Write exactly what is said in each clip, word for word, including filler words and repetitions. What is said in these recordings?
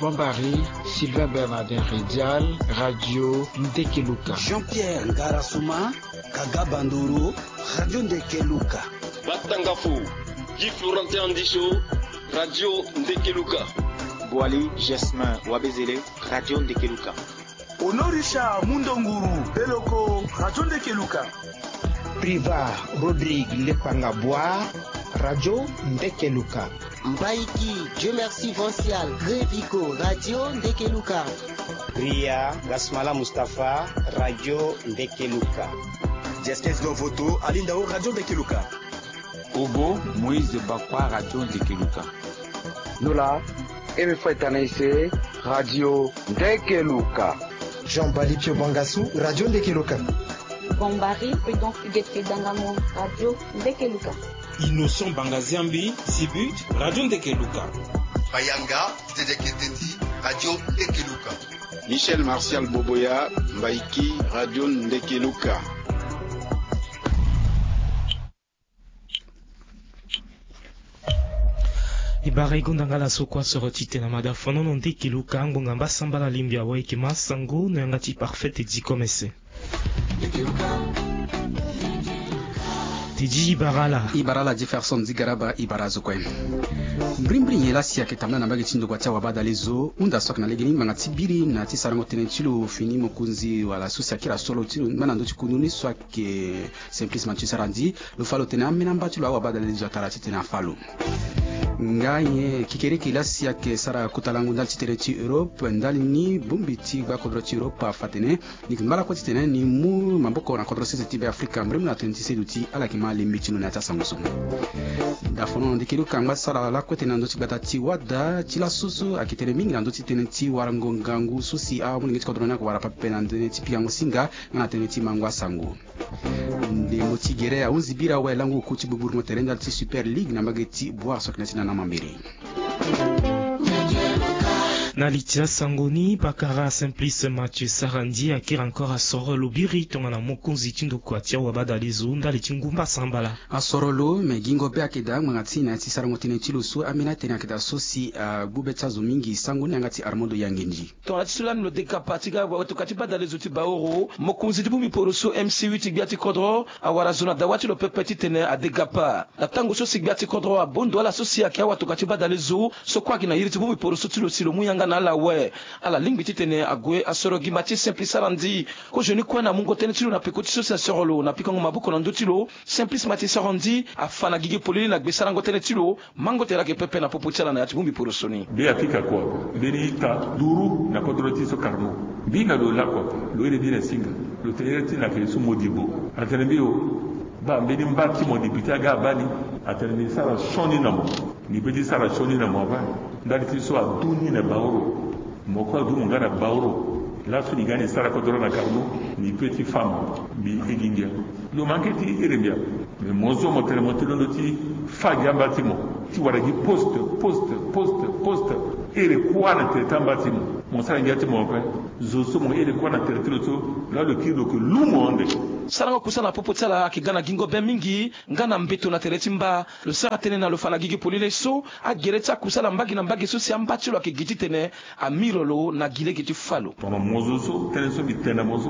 Bombari, Sylvain Bernardin Ridial, Radio Ndekeluka. Jean-Pierre Ngarasuma, Kaga Bandoro, Radio Ndekeluka. Batangafo, Guy Florentin Andicho, Radio Ndekeluka. Boali Jasmin Wabezele, Radio Ndekeluka. Honorisha Mundonguru Beloko, Radio Ndekeluka. Priva Rodrigue Lepanga Bois, Radio Ndekeluka. Mbaiki Dieu Merci Vancial Greviko, Radio Ndekeluka. Ria Gasmala Mustapha, Radio Ndekeluka. Justice Dovoto Alindao, Radio Ndekeluka. Ogo Moïse Bakwa, Radio Ndekeluka. Nola Eme Fwetanaise, Radio Ndekeluka. Jean Bali Pio Bangasu, Radio Ndekeluka. Bombari Prudence Huguette Dangamo, Radio Ndekeluka. Innocent Bangaziambi Zibut, Radio Ndekeluka. Bayanga Dede Keteti, Radio Ndekeluka. Michel Martial Boboya, Mbaiki, Radio Ndekeluka. E bara e gonda nga laso kue asoro ti tene na mada fanono Ndekeluka. Ngbonga mbasambala lingbi awe e yeke ma sango na yanga ti Parfait Dikomese. Ti di e bara ala. E bara ala Jefferson Zigaraba, e bara azo kue. Mbrimbri nyen laa si ayeke tambula na mbage ti ndokua ti awabadale zo, hunda so ayeke na legeni ngbanga ti biri na ti sarango tënë ti lo fini mokonzi wala so si akiri asoro ti lo ngbâ na ndö ti kundu ni so ayeke Simplice Mathieu Sarandji. Lo fa lo tene ambeni amba ti lo awabadale zo atara titene afa lo. Nga nyen kekereke laa si ayeke sara kota lango ndali ti tere ti Europe, ndali ni bongbi ti gbakodro ti Europe afa tene ni yeke ngba lakue titene ni mu maboko na kodro sese ti Be Afrika mbrimbri na tënë ti seduti. Ala yeke ma lembe ti lo na ya ti asango so. Dafono Ndekeluka angba sara lakue tene na ndö ti gbata ti wada ti laso so ayeke tene mingi na ndö ti tënë ti warango ngangu so si amolenge ti kodro ni ayeke wara pepe na tënë ti pikango singa nga na tënë ti mango asango. Ndembo ti gere ahunzi bira awe lango oku ti gbugburu mo tere ndali ti Super League na mbage ti Boire so ayeke na ya ti nana mambere. Na li ti asango ni, pakara Simplice Mathieu Sarandji akiri encore asoro lo biri tongana mokonzi ti ndokua ti awabadale zo ndali ti ngu mbasambala. Asoro lo me gingo be ayeke daa ngbanga ti na ya ti sarango tënë ti lo so ambeni atënë ayeke daa so si agbu be ti azo mingi sango ni yanga ti Armando Yangendji. Tongana ti so lani lo degapa ti ga watokua ti badale zo ti Baoro, mokonzi ti bongbi poro so M C U ti gbia ti kodro awara zo na dawa ti lo pepe titene adegapa. Na tango so si gbia ti kodro abondo ala so si ayeke awatokua ti badale zo so kue ayeke na iri ti bongbi poro so ti lo si lo mu yanga na ala awe. Ala lingbi titene ague asoro gimba ti Simplice Sarandji. Kozoni kue na mungo tënë ti lo na peko ti so si asoro lo na pikango maboko na ndö ti lo, Simplice Mathieu Sarandji afa na gigi polele na gbe sarango tënë ti lo. Mango tere ayeke pepe na popo ti ala na ya ti bongbi poroso ni. Be afika kua, mbeni ita duru na kodro ti so Carnot. Mbi hinga lo lakue, lo iri mbi na singa. Lo tene iri ti na ke so Modibo. Atene mbi o, baa mbeni mba ti mo député aga abaa ni. Atene mbi sara sioni na mo. Mbi pe ti sara sioni na mo abaa. Ndali ti so adu ni na Baoro. Mo kue adu mo nga na Baoro. Laso ni ga ni sara kodro na Carnot, ni pe ti fa mo. Mbi iri ngia. Lo manke ti iri ngia. Me mo so mo tene mo ti londo ti fa gi amba ti mo ti wara gi poste, poste, poste, poste. Iri kuâ na tere ti amba ti mo. Mo sara ngia ti mo ape. Zo so mo iri kuâ na tere ti lo so, laa lo kiri lo yeke lu mo ande. Sarango kusala na popo ti ala ayeke ga na gingo be mingi, nga na mbeto na tere ti mba. Lo sara tënë na lo fa na gigi polele so agere ti akusala mbage na mbage so si amba ti lo ayeke gi titene ami lo lo na gi lege ti fa lo. Tongana mo zo so tënë so mbi tene na mo so,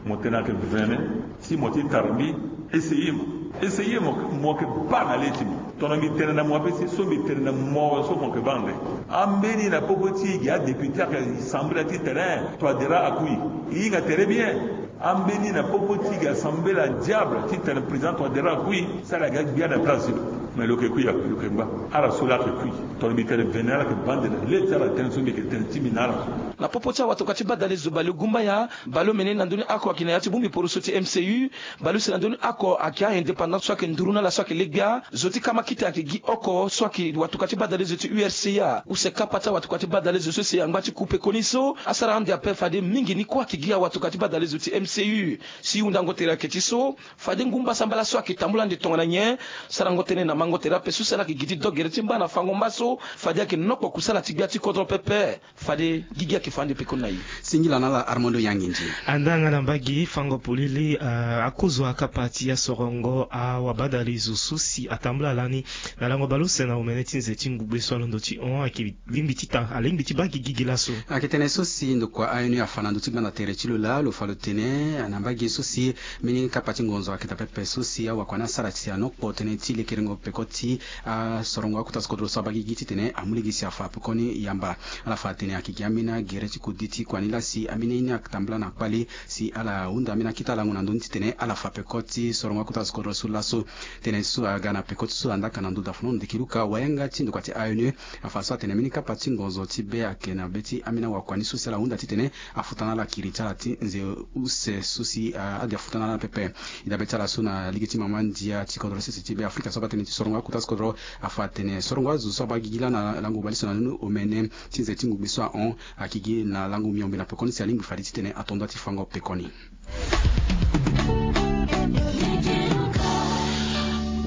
mo tene ayeke vene, si mo ti tara mbi, essayer mo. Essayer mo, mo yeke baa na le ti mo. Tongana mbi tene na mo ape si so mbi tene na mo so mo yeke baa ande. Ambeni na popo ti e gi adéputé ayeke sambela ti tene, eh, Touadéra akui. E hinga tere bien. Ambeni na popo ti e gi assemblée la diable titene président Touadéra akui, sara aga gbia na place ti lo. Mais lo yeke kui ape, lo yeke ngba. Ala so laa ayeke kui. Tongana mbi tene vene ala yeke baa ande na le ti ala tënë so mbi yeke tene ti mbi na ala. Na popo ti awatokua ti badale zo Balegumbaya, Baleomene na ndö ni oko ayeke na ya ti bongbi poroso ti M C U, Baleuse na ndö ni oko ayeke a-indépendant so ayeke nduru na ala so ayeke le gbia, zo ti kamakita ayeke gi oko so ayeke watokua ti badale zo ti U R C A, use kapa ti awatokua ti badale zo so si angba ti ku pekoni so, asara ande ape fade mingi ni kue ayeke gi awatokua ti badale zo ti M C U. Si hundango tere ayeke ti so, fade ngu mbasambala so ayeke tambula ande tongana nyen, sarango tënë na mango Fango tere ape so si ala yeke gi ti do gere ti mba na fango mba so fade ayeke nokpo kusala ti gbia ti kodro pepe. Fade gigi ayeke fa ande pekoni na e. Singila na ala Armando Yangindi. Anda nga na mbage fango polele, ah, akozo akapa ti asorongo awabadale zo so si atambula lani na lango baleuse na omene ti nze ti ngugbe so alondo ti hon ayeke lingbi ti ta alingbi ti baa gigi gi laso. Ayeke tënë so si ndokua A N U afa na ndö ti gbanda tere ti lo laa lo fa lo tene na mbage so si mbeni kapa ti ngonzo ayeke daa pepe so si awakua ni asara si anokpo tënë ti lekerengo peko ti asorongo akota so kodro so abaa gigi titene amu lege si afa pekoni yamba. Ala fa atene ayeke gi ambeni agere ti kodi ti kua ni laa si ambeni aye ni atambula na kpale si ala hunda ambeni akita lango na ndö ni titene ala fa peko ti sorongo akota so kodro so laso. Tënë so aga na peko ti so andaka na ndö dafanono ndeke luka wayanga ti ndokua ti A N U afa so atene mbeni kapa ti ngonzo ti be ayeke na be ti ambeni awakua ni so si ala hunda titene afuta na ala kiri ti ala ti nze use so si, ah, ade afuta na ala pepe. E dabe ti ala so na lege ti mama ndia ti kodro sese ti Be Afrika so abaa tënë ti sorongo akota so kodro afa atene sorongo azo so abaa gigi laa na lango baleuse na ni omene ti nze ti ngugbe so ahon ayeke gi na lango miombe na pekoni si alingbi fade titene ato nda ti fango pekoni.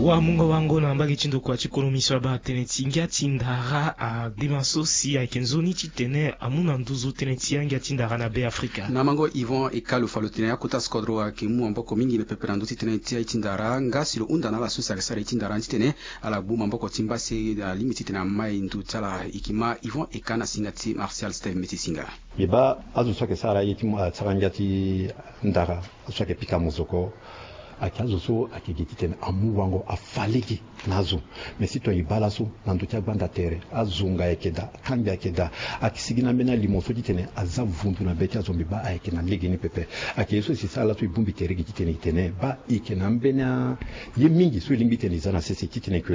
Wamungo wango na mbage ti ndokua ti konomi so abaa tënë ti ngia ti ndara adema so si ayeke nzoni titene amu na nduzu tënë ti angia ti ndara na Be Afrika. Na mango Yvon Ekalu fa lo tene akota so kodro ayeke mu maboko mingi lo pepe na ndö ti tënë ti aye ti ndara nga si lo hunda na ala so si ayeke sara ye ti ndara ni titene ala gbu maboko ti mba si alingbi titene amai ndo ti ala. E yeke ma Yvon Eka na singa ti Martial Steve Meti Singa. Mbi baa azo so ayeke sara ye ti, ah, sara ngia ti ndara so ayeke pika mozoko. Ayeke azo so ayeke gi titene amu wango afa lege na azo. Mais si tongana e baa laso na ndö ti agbanda tere azo nga ayeke daa, kangbi ayeke daa. Ayeke sigi na ambeni alimo so titene aza vundu na be ti azo, mbi baa ayeke na legeni pepe. Ayeke ye so e si sara laso e bongbi tere gi titene e tene baa e yeke na ambeni aye mingi so e lingbi titene e za na sese titene ke,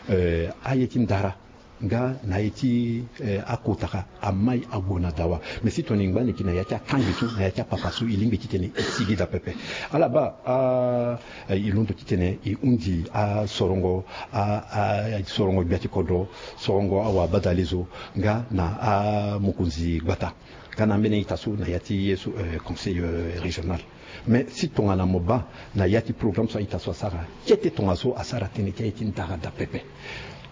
eh, aye ti ndara nga na ye ti, eh, akotaka amai ague na dawa. Mais si tongana e ngba leke na ya ti akangi so na ya ti apapa so e lingbi titene e sigi daa pepe. Ala baa, ah, eh, e londo titene e hundi asorongo, ah, ah, sorongo gbia ti kodro, sorongo awabadale zo nga na amokonzi gbata. Nga na ambeni a-ita so na ya ti ye so, eh, conseil, eh, régional. Mais si tongana mo baa na ya ti programme so a-ita so asara kete tongaso asara tënë ti aye ti ndara daa pepe.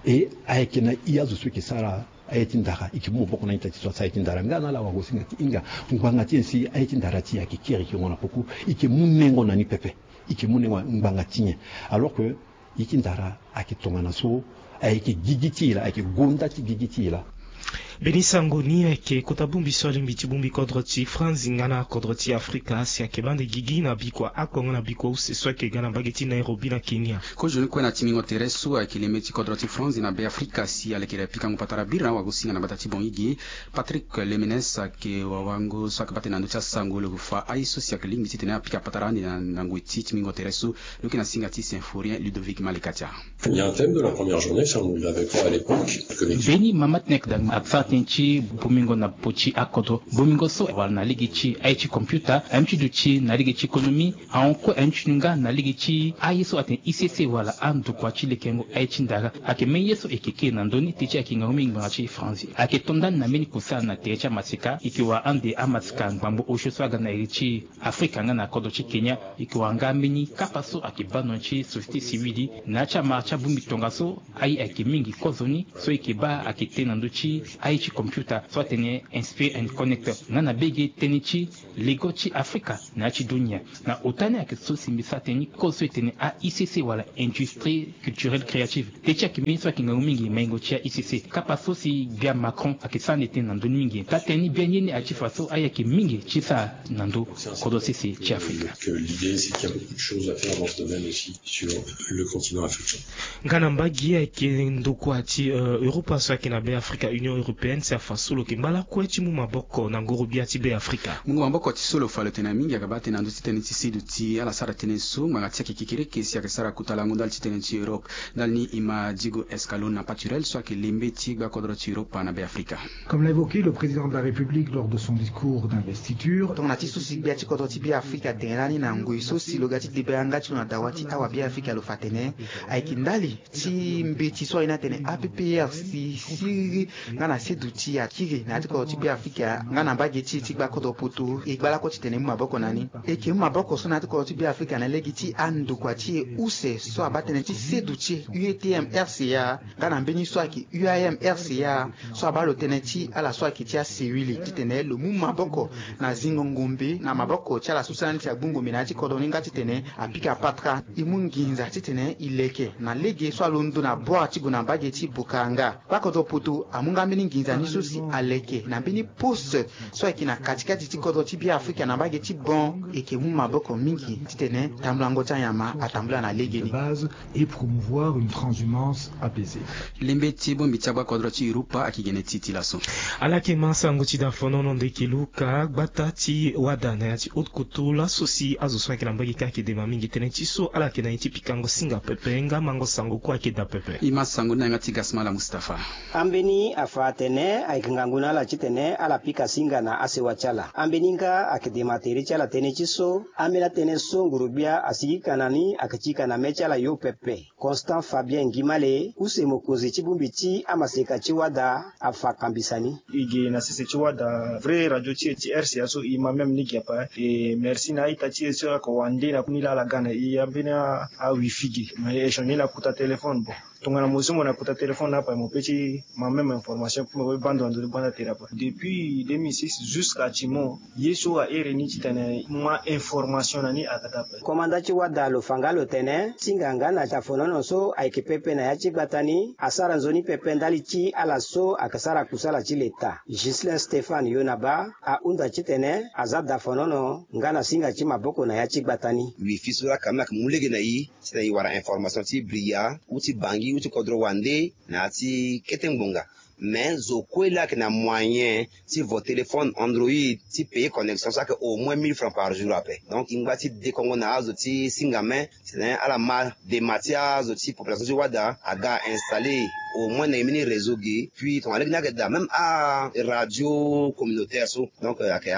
E ayeke na i azo so e yeke sara aye ti ndara, e yeke mu maboko na a-ita ti so asara aye ti ndara nga na ala wagosinga ti hinga ngbanga ti nyen si aye ti ndara ti e ayeke kiri yeke gue na poko. E yeke mu nengo na ni pepe. E yeke mu nengo na ngbanga ti nyen? Alors que ye ti ndara ayeke tongana so ayeke gigi ti e laa, ayeke gonda ti gigi ti e laa. Mbeni sango ni ayeke kota bongbi so alingbi ti bongbi kodro ti France nga na kodro ti Afrika si ayeke baa ande gigi na bikua ako nga na bikua use so ayeke ga na mbage ti Nairobi na Kenya. Kozoni kue na tingbingo tere so ayeke leme ti kodro ti France na Be Afrika si alekere pikango patara biri na awagosinga na gbata ti Bongi gi. Patrick Lemenes ayeke wawango so ayeke baa tënë na ndö ti asango lo fa aye so si ayeke lingbi titene apika patara ande na, na ngoi ti tingbingo tere so. Lo yeke na singa ti Symphorien Ludovic Malekatia. Il y a un thème de la première journée, ça, on l'avait pas à l'époque. Mbeni mama ti na yeke daa asara tënë ti bongbingo na popo ti akodro. Bongbingo so wala na lege ti aye ti computer, aye ti duti na lege ti économie, ahon kue aye ti nga na lege ti aye so atene I C C wala andokua ti lekerengo aye ti ndara. Ayeke mbeni ye so e yeke kiri na ndö ni teti ayeke ngangu mingi ngbanga ti faranzi. Ayeke to ndani na mbeni kusala na tere ti amaseka, e yeke wara ande amaseka ngbangbo osio so aga na iri ti Afrika nga na kodro ti Kenya. E yeke wara nga mbeni kapa so ayeke baa ndo na ti société civile na ya ti amara ti abongbi tongaso. Aye ayeke mingi kozoni so e yeke baa ayeke tene na ndö ti aye ti computer so atene Inspire and Connect nga na bege tënë ti lego ti Afrika na ya ti dunia. Na ota ni ayeke so si mbi sara tënë ni kozo so e tene a I C C wala industrie culturelle créative. Teti ayeke mbeni so ayeke ngangu mingi maingo ti a I C C. Kapa so si gbia Macron ayeke sara ande tënë na ndö ni mingi. Taa tënë ni biani ye ni aye ti fa so aye ayeke mingi ti sara na ndö kodro sese ti Afrika. Que l'idée, c'est qu'il y a beaucoup de choses à faire dans ce domaine aussi sur le continent africain. Nga na mbage ayeke ndokua ti, euh, Europa so ayeke na Be Afrika, Union Européenne, si afa so lo yeke ngba lakue ti mu maboko na ngoro-gbia ti Be Afrika. Mungo maboko ti so lo fa lo tene na mingi ayeke baa tënë na ndö ti tënë ti seduti ala sara tënë so ngbanga ti ayeke kekereke si ayeke sara kota lango ndali ti tënë ti Europe. Ndali ni e ma Diego Escalona Paturel so ayeke lembe ti gbakodro ti Europa na Be Afrika. Comme l'a évoqué le président de la République lors de son discours d'investiture. Tongana ti so si gbia ti kodro ti Be Afrika atene lani na ngoi so si lo ga ti debe yanga ti lo na dawa ti awa Be Afrika lo fa atene ayeke ndali ti mbeti so aye ni atene A P P R si siriri nga na Duti akiri na ya ti kodro ti Beafrika nga na mbage ti e ti gbakodro poto e gba lakue titene e mu maboko na ni. E yeke mu maboko so na ya ti kodro ti Beafrika na lege ti andokua ti e use so abaa tënë ti seduti e, U E T M R C A, nga na mbeni so ayeke U A M R C A, so abaa lo tënë ti ala so ayeke ti asewili titene lo mu maboko na zingo ngombe na maboko ti ala so sara ni si agbu ngombe na ya ti kodro ni nga titene apika patara. E mu nginza titene e leke na lege so alondo na bore ti gue na mbage ti Bokanga. Gbakodro poto amu nga mbeni nginza ni so si aleke na mbeni poste so ayeke na katikati ti kodro ti Beafrika na mbage ti Bon. E yeke mu maboko mingi titene tambulango ti anyama atambula na legeni. Et promouvoir une transhumance apaisée. Lembe ti bongbi ti agbakodro ti Europa ayeke gene ti ti laso. Ala yeke ma sango ti dafonono ndeke Luka, gbata ti wada na ya ti haute couture laso si azo so ayeke na mbage kâ ayeke dema mingi tënë ti so ala yeke na ye ti pikango singa pepe nga mango sango kue ayeke daa pepe. E ma sango ni na yanga ti Gasmala Mustapha. Ambeni afa atene ayeke ngangu na ala titene ala pika singa na asewa ti ala. Ambeni nga ayeke dema tere ti ala tënë ti so ambeni atënë so nguru-gbia asigi ka na ni ayeke ti ka na mê ti ala yo pepe. Constant Fabien Ngimale, use mokonzi ti bongbi ti amaseka ti wada, afa kambisa ni. E ge na sese ti wada vrai radio ti e ti R C A so e ma même ni gi ape. E merci na a-ita ti e so ayeke wande na ni laa ala ga na e ambeni a-wifi ge. Me échange ni na kota téléphone. Bon, tongana mo zi mo na kota téléphone na ape mo peut ti ma même information pour mo bando na ndo ti gbanda tere ape. Depuis deux mille six jusqu'à ti mo ye so ahere ni titene ma information na ni ayeke daa ape. Komanda ti wada lo fa nga lo tene singa nga na dafonono so ayeke pepe na ya ti gbata ni asara nzoni pepe ndali ti ala so ayeke sara kusala ti leta. Ghislain Stéphane Yonaba ahunda titene aza dafonono nga na singa ti maboko na ya ti gbata ni. Wifi so laa quand même ayeke mu lege na e titene e wara information ti bria ou ti bangi ou ti kodro wande na ya ti kete ngbonga. Mais zo kue laa ayeke na moyen ti vo téléphone Android ti payer connexion so ayeke au moins mille francs par jour ape. Donc e ngba ti dekongo na azo ti singa me titene ala ma dema ti azo ti population ti wada aga installer au moins na e mbeni réseau ge. Puis tongana lege ni ayeke daa même aradio communautaire so. Donc ayeke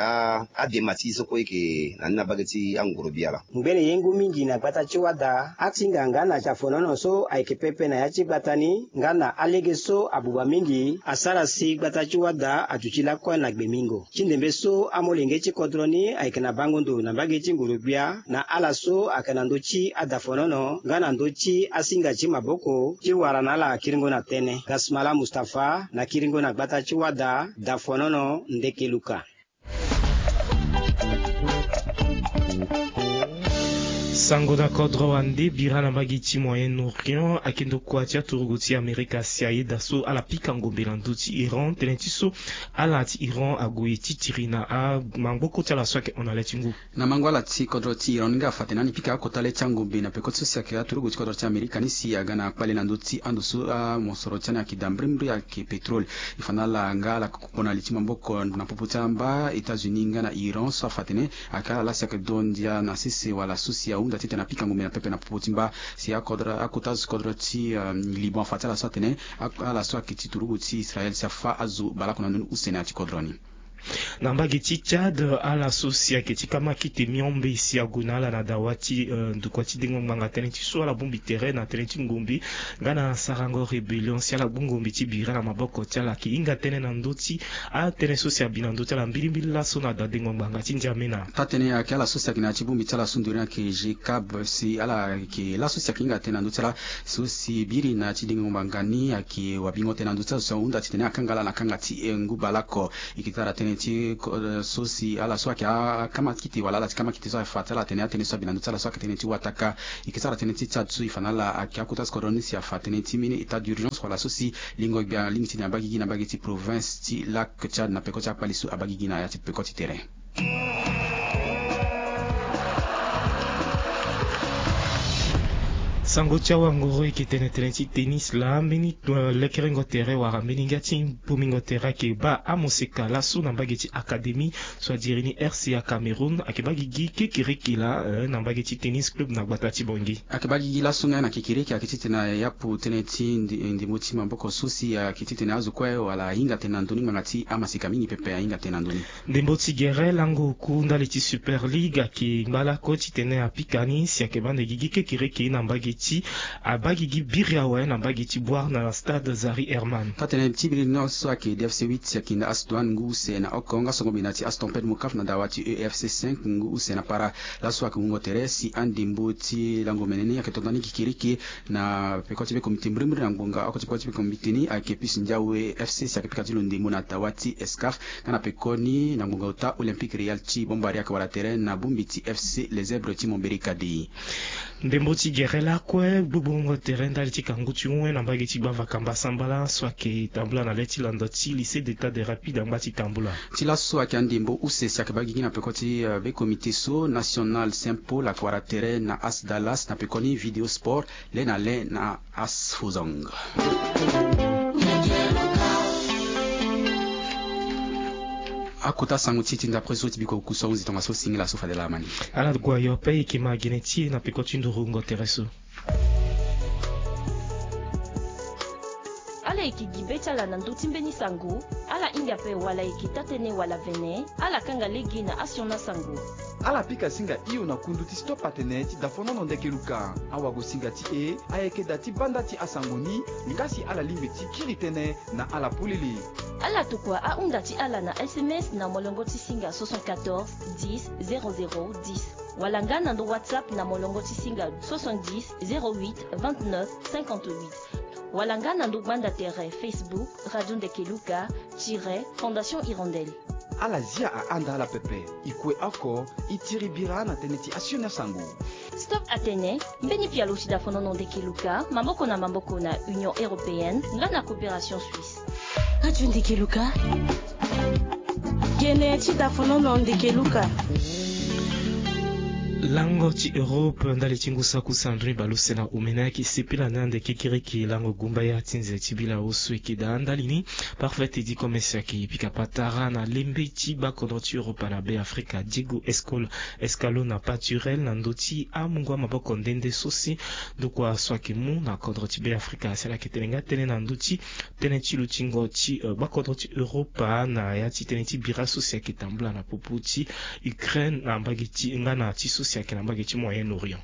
adema ti e so kue e yeke na ni na mbage ti angorobi ala. Ngbene ye ngu mingi na gbata ti wada asinga nga na dafonono so ayeke pepe na ya ti gbata ni nga na alege so abuba mingi asara si gbata ti wada aduti lakue na gbemingo. Ti ndembe so amolenge ti kodro ni ayeke na bango ndo na mbage ti nguru-gbia na ala so ayeke na ndö ti adafonono nga na ndö ti asinga ti maboko ti wara na ala kiringo na tënë. Gasmala Mustapha na kiringo na gbata ti wada, dafonono ndeke Luka. Sango na kodro wande bira na mbage ti Moyen-Orient ayeke ndokua ti aturugu ti Amerika si ayeda so ala pika ngombe na ndö ti Iran tënë ti so ala ti Iran ague titiri na amangboko ti ala so ayeke hon na le ti ngu. Na mango ala ti kodro ti Iran ni nga afa tene ani pika akota le ti angombe na peko ti so si ayeke aturugu ti kodro ti Amerika ni si aga na kpale na ndö ti ando so amosoro ti ani ayeke daa mbirimbiri ayeke pétrole. E fa na ala nga ala koko na li ti maboko na popo ti amba États-Unis nga na Iran so afa tene ayeke ala laa si ayeke do ndia na sese wala so si ahunda titene apika ngombe na pepe na popo ti mba. Si akodro akota azo kodro ti Liban afa ti ala so atene ala so ayeke ti turugu ti Israël si afa azo baleoko na ndoni use na ya ti kodro ni. Na mbage ti Tchad ala so si ayeke ti kamakite miombe si ague na ala na dawa ti ndokua ti dengo ngbanga tënë ti so ala bongbi tere na tënë ti ngombe nga na sarango rébellion si ala gbu ngombe ti bira na maboko ti ala ayeke hinga tënë na ndö ti atënë so si abi na ndö ti ala mbilimbili laso na da dengo ngbanga ti N'Djamena. Taa-tënë ayeke ala so si ayeke na ya ti bongbi ti ala so ndoni ayeke G cab si ala yeke laso si ayeke hinga tënë na ndö ti ala so si biri na ya ti dengo ngbanga ni ayeke wabingo tënë na ndö ti ala so si ahunda titene akanga ala na kanga ti ngu baleoko. E yeke sara tënë ti so si ala so ayeke akamakite wala ala ti kamakite so afa ti ala atene atënë so abi na ndö ti ala so ayeke tënë ti wataka. E yeke sara tënë ti Tchad so e fa na ala ayeke akota so kodro ni si afa tënë ti mbeni état d'urgence wala so si lingo gbia alingbi ti tene abaa gigi na mbage ti province ti lac Tchad na peko ti akpale so abaa gigi na ya ti peko ti tere. Sango ti awangoro e yeke tene tënë ti tennis laa mbeni lekerengo tere wala mbeni ngia ti pomingo tere ayeke baa amoseka laso na mbage ti académie so adiri ni R C A Cameroun ayeke baa gigi kekereke laa na mbage ti tennis club na gbata ti Bangui. Ayeke baa gigi laso nga na kekereke ayeke titene ayapu tënë ti ndembo ti maboko so si ayeke titene azo kue wala ahinga tënë na ndö ni ngbanga ti amaseka mingi pepe ahinga tënë na ndö ni. Ndembo ti gere lango oku ndali ti Super League ayeke ngba lakue titene apika ni si ayeke baa na gigi kekereke na mbage ti abagigi biri awe na mbage ti Bouar na stade Zaïre Herman. Taa-tënë ti biri ni so ayeke D F C huit si ayeke na As Douanes ngu use na oko nga songo mbi na ti As Tempêtes Mocaf na dawa ti E F C cinq ngu use na para. Laso ayeke wungo tere si andembo ti lango mene ni ayeke to ndani kikiriki na peko ti be komite mbirimbiri na ngbonga oko ti peko ti be komite ni ayeke Puce Ndiawe F C si ayeke pika ti lo ndembo na dawa ti Escaf. Nga na pekoni na ngbonga ota Olympique Real ti Bambari ayeke wara tere na bongbi ti F C Les Zèbres ti Momberi Kadi. Ndembo ti gere lakue gbogbo wungo tere ndali ti kangu ti wen na mbage ti gbavaka mbasambala so ayeke tambula na le ti landa ti Lycée d'État de Rapide angba ti tambula. Ti laso ayeke andembo use si ayeke baa gigi na peko ti, eh, be komite so national Saint Paul ayeke wara tere na As Dallas na pekoni Vidéo Sport le na le na As Fozang. Akota sango ti e ti ndapre so ti biko kusa hunzi tongaso singila so fade laa mani. Ala gue ayo ape e yeke ma gene ti e na peko ti nduru wungo tere so. Ala yeke gi be ti ala na ndö ti mbeni sango. Ala hinga ape wala e yeke taa-tënë wala vene. Ala kanga lege na asioni sango. Ala pika singa hio na kundu ti Stop Atene ti dafonono Ndeke Luka. Awagosinga ti e ayeke da ti banda ti asango ni. Nga si ala lingbi ti kiri tënë na ala polele. Ala tokua ahunda ti ala na S M S na molongo ti singa soixante-quatorze dix zéro zéro dix, wala nga na ndö WhatsApp na molongo ti singa soixante-dix zéro huit vingt-neuf cinquante-huit, wala nga na ndö gbanda tere Facebook Radio Ndeke Luka tiret Fondation Hirondelle. Ala zia ahanda ala pepe. E kue oko, e tiri bira na tënë ti asioni sango. Stop Atene, mbeni pialo ti dafonono Ndeke Luka, maboko na maboko na Union Européenne nga na Coopération Suisse. Radio Ndeke Luka. Gene ti dafonono Ndeke Luka. Lango ti Europe ndali ti ngu saki use na ndoni bale use na omene ayeke sepela ni ande kekiriki lango gumbaya ti nze ti bila oso e yeke daa ndali ni. Parfait Teddy Commerce ayeke pika patara na lembe ti gbakodro ti Europa na Be Afrika, Diego Escol-, Escalona Paturel na ndö ti amungo amaboko nde nde so si ndokua so ayeke mu na kodro ti Be Afrika si ala yeke tene nga tënë na ndö ti tënë ti lutingo ti, eh, gbakodro ti Europa na ya ti tënë ti bira so si ayeke tambula na popo ti Ukraine na mbage ti nga na ti so si ayeke na mbage ti Moyen-Orient.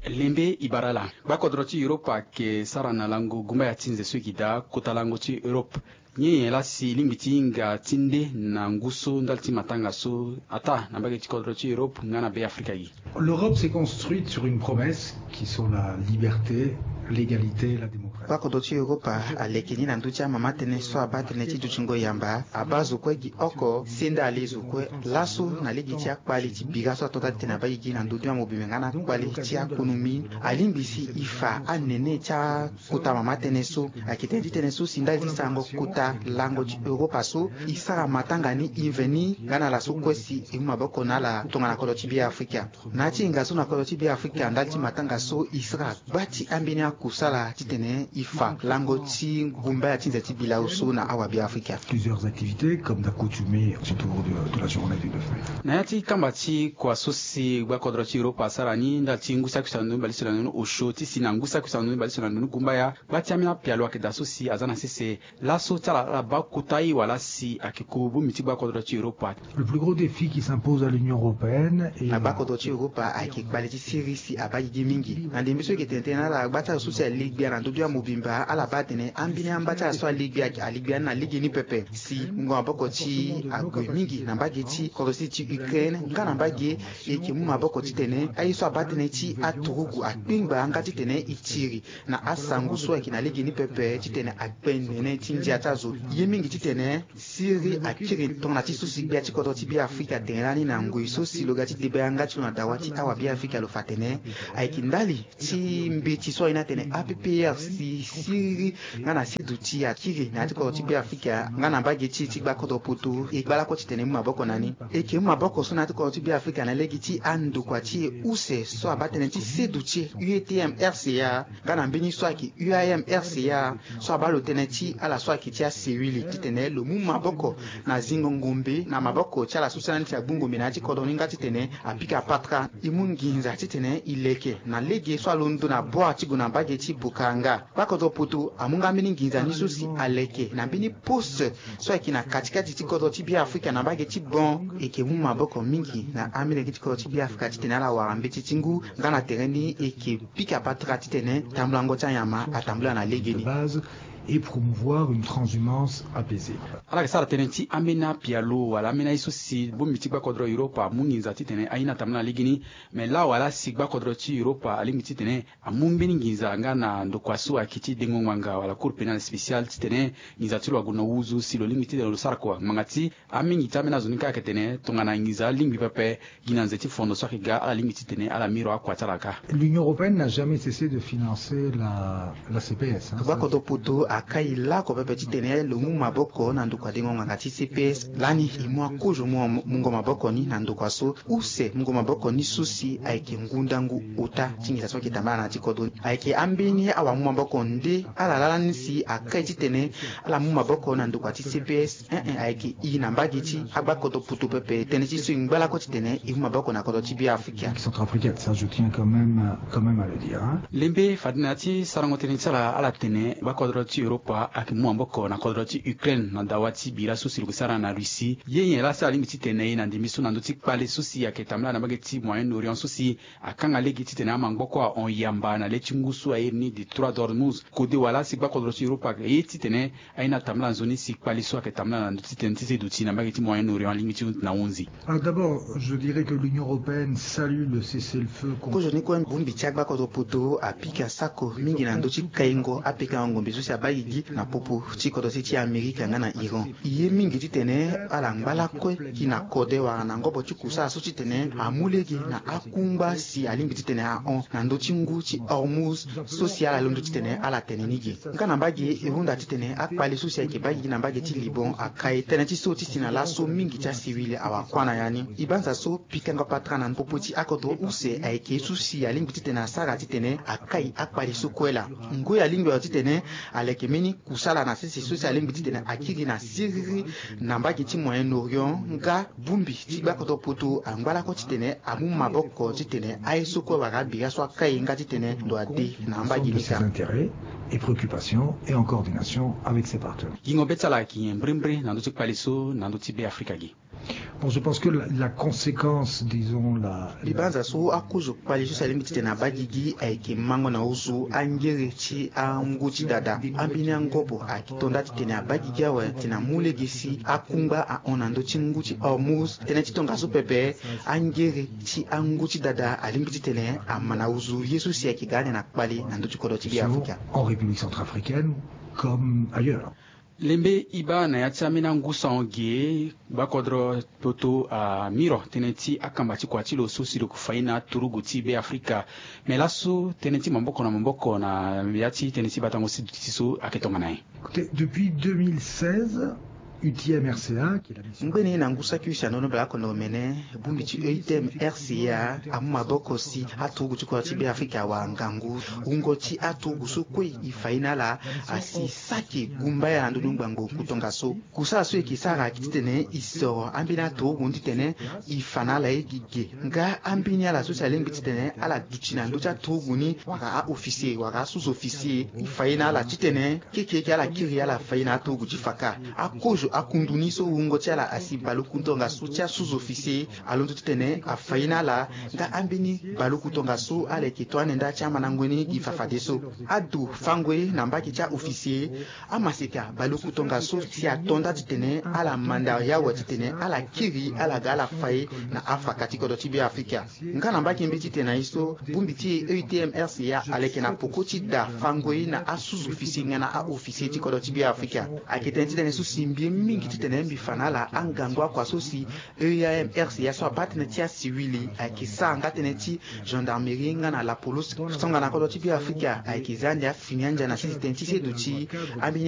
Lembe e bara ala. Gbakodro ti Europa ayeke sara na lango gumbaya ti nze so e gi daa kota lango ti Europe. Nyen nyen laa si e lingbi ti hinga ti nde na ngu so ndali ti matanga so ataa na mbage ti kodro ti Europe nga na Be Afrika gi? L'Europe s'est construite sur une promesse qui sont la liberté, l'égalité, la démocratie. Gbakodro ti Europa aleke ni na ndö ti amama tënë so abaa tënë ti dutingo yamba, abaa zo kue gi oko, senda ale zo kue. Laso na lege ti akpale ti bira so ato taa ti tene abaa gigi na ndö ti amobimbe nga na akpale ti akonomi, alingbi si e fa anene ti a kota mama tënë so ayeke tënë ti tënë so si ndali ti sarango kota lango ti Europa so e sara matanga ni e veni nga na ala so kue si e mu maboko na ala tongana kodro ti Be Afrika. Na ya ti hinga so na kodro ti Be Afrika ndali ti matanga so e sara gba ti ambeni akusala titene e fa lango ti gumbaya ti nze ti bilau so na awa Be Afrika. Plusieurs activités comme d'accoutumée autour de, de la journée du neuf mai. Na ya ti kamba ti kua so si gbakodro ti Europa asara ni ndali ti ngu saki use na ndoni bale use na ndoni osio ti si na ngu saki use na ndoni bale use na ndoni gumbaya, gba ti ambeni apialo ayeke daa so si aza na sese. Laso ti ala ala baa kota ye wala si ayeke ko bongbi ti gbakodro ti Europa. Le plus gros défi qui s'impose à l'Union européenne est... Na gbakodro ti Europa ayeke kpale ti siriri si abaa gigi mingi. Na ndembe so e yeke tene tënë na ala gba ti ala so si ale gbia na ndö ti amobimba ala baa atene ambeni amba ti ala so ale gbia ayeke ale gbia ni na lege ni pepe. Si mungo maboko ti ague mingi na mbage ti kodro ti Ukraine nga na mbage e yeke mu maboko titene aye so abaa tënë ti aturugu akpengba nga titene e tiri na asango so ayeke na lege ni pepe titene akpe nene ti ndia ti azo. Ye mingi titene siriri akiri tongana ti so si gbia ti kodro ti Be Afrika atene lani na ngoi so si lo ga ti debe yanga ti lo na dawa ti awa Be Afrika lo fa atene ayeke ndali ti mbeti so aye ni atene A P P R si siriri nga na seduti akiri na ya ti kodro ti Be Afrika nga na mbage ti e ti gbakodro poto e gba lakue titene e mu maboko na ni. E yeke mu maboko so na ya ti kodro ti Be Afrika na lege ti andokua ti e use so abaa tënë ti seduti U E T M R C A nga na mbeni so ayeke U A M R C A so abaa lo tënë ti ala so ayeke ti asewili titene lo mu maboko na zingo ngombe na maboko ti ala so si alani ti agbu ngombe na ya ti kodro ni nga titene apika patara e mu nginza titene e leke na lege so alondo na bua ti gue na mbage ti Bukanga. Gbakodro poto amu nga mbeni nginza ni so si aleke na mbeni poste so ayeke na katikati ti kodro ti Beafrika na mbage ti Bon. E yeke mu maboko mingi na amolenge ti kodro ti Beafrika titene ala wara mbeti ti ngu nga na tere ni e yeke pika patara titene tambulango ti anyama atambula na legeni. Et promouvoir une transhumance apaisée. Ala yeke sara tënë ti ambeni apialo wala ambeni aye so si bongbi ti gbakodro Europa amu nginza titene aye ni atambula na legeni. Me laa wala si gbakodro ti Europa alingbi titene amu mbeni nginza nga na ndokua so ayeke ti dengo ngbanga wala Cour pénale spéciale titene nginza ti lo ague na wuzu si lo lingbi titene lo sara kua ngbanga ti Amingi ti ambeni azo ni kâ ayeke tene tongana nginza alingbi pepe, gi na nze ti fondo so ayeke ga ala lingbi titene ala miro akua ti ala kâ. L'Union européenne n'a jamais cessé de financer la, la C P S, hein. Gbakodro poto akai lako pepe titene lo mu maboko na ndokua dengo ngbanga ti C P S. Lani e mu akozo mu mungo maboko ni na ndokua so use mungo maboko ni so si ayeke ngundangu ota ti nginza so ayeke tambala na ya ti kodro ni. Ayeke ambeni awamu maboko nde ala laa lani si akai titene ala mu maboko na ndokua ti C P S. Ee, ayeke e na mbage ti agbakodro poto pepe tënë ti so e ngba lakue titene e mu maboko na kodro ti Beafrika. Centrafricaine, ça je tiens quand même, quand même à le dire, hein. Lembe fade na ya ti sarango tënë ti ala, ala tene gbakodro ti Europa ayeke mu maboko na kodro ti Ukraine na dawa ti bira so si lo yeke sara na Russie. Ye nyen laa si alingbi titene e na ndembe so na ndö ti kpale so si ayeke tambula na mbage ti Moyen-Orient so si akanga lege titene amangboko ahon yamba na le ti ngu so airi ni Détroit d'Ormuz. Kode wala si gbakodro ti Europa aye titene aye ni atambula nzoni si kpale so ayeke tambula na ndö ti tënë ti se duti na mbage ti Moyen-Orient alingbi ti na hunzi. Alors d'abord, je dirais que l'Union européenne salue le cessez-le-feu. Kozoni kue bongbi ti agbakodro poto apika sako mingi na ndö ti kaingo apekango ngombe so si abaa gigi na popo ti kodro ti ti Amerika nga na Iran. E ye mingi titene ala ngba lakue gi na kode wala na ngobo ti kusala so titene amu lege na akungba si alingbi titene ahon na ndö ti ngu ti Hormuz so si ala londo titene ala tene ni ge. Nga na mbage e hunda titene akpale so si ayeke baa gigi na mbage ti Liban akai tënë ti so ti si na laso mingi ti asiwili awakua na ya ni. E banza so pikango patara na popo ti akodro use ayeke ye so si alingbi titene asara titene akai akpale so kue laa. Ngoi alingbi awe titene aleke mbeni kusala na sese so si alingbi titene akiri na siriri na mbage ti Moyen-Orient nga bongbi ti gbakodro poto angba lakue titene amu maboko titene aye so kue wara abira so akai nga titene ndo ade na mbage ni kâ. Et préoccupation et en coordination avec ses partenaires. Gingo be ti ala ayeke nyen mbrimbri na ndö ti kpale so na ndö ti Beafrika ge? Bon, je pense que la, la conséquence, disons, la, la... Mbi banza so akozo kpale so si alingbi titene abaa gigi ayeke mango na ozo angere ti angu ti dada. Ambeni angobo ayeke to nda titene abaa gigi awe titene amu lege si akungba ahon na ndö ti ngu ti Hormuz. Tënë ti tongaso pepe, angere ti angu ti dada alingbi titene ama na ozo ye so si ayeke ga ande na kpale na ndö ti kodro ti Beafrika. En République centrafricaine comme ailleurs. Lembe e baa na ya ti ambeni angu sango ge, gbakodro poto amiro tënë ti akamba ti kua ti lo so si lo yeke fa ye na aturugu ti Beafrika. Me laso tënë ti maboko na maboko na ya ti tënë ti batango ti duti so ayeke tongana nyen? Écoutez, depuis deux mille seize, U T M R C A, qui est la mission... Ngbene na ngu saki use na ndo ni bale oko na omene, bongbi ti U T M R C A amu maboko si aturugu ti kodro ti Beafrika awara ngangu. Wungo ti aturugu so kue e fa ye na ala asi saki gumba ya na ndö ni ngbangbo ku tongaso. Kusala so e yeke sara ayeke titene e soro ambeni aturugu ni titene e fa na ala ye gi ge. Nga ambeni ala so si alingbi titene ala duti na ndö ti aturugu ni wala a-officier wala a-sous-officier, e fa ye na ala titene keke eke ala kiri ala fa ye na aturugu ti fa kâ. Akozo akundu ni so wungo ti ala asi baleoku tongaso ti a-sous-officier alondo titene afa ye na ala. Nga ambeni baleoku tongaso ala yeke to ande nda ti amandango ni gi fafadeso. Ado fango ye na mbage ti a-officier, amaseka baleoku tongaso si ato nda titene ala manda ye awe titene ala kiri ala ga ala fa ye na afaka ti kodro ti Beafrika. Nga na mbage mbi titene na ye so, bongbi ti U T M R C A aleke na poko ti da fango ye na a-sous-officier nga na a-officier ti kodro ti Beafrika. Ayeke tënë ti tënë so si mbi ye mingi titene mbi fa na ala angangu akua so si U T M R C A so abaa tënë ti asiwili ayeke sara nga tënë ti gendarmerie nga na la police. Tongana kodro ti Beafrika ayeke za ande afini andia na sese tënë ti seduti ambeni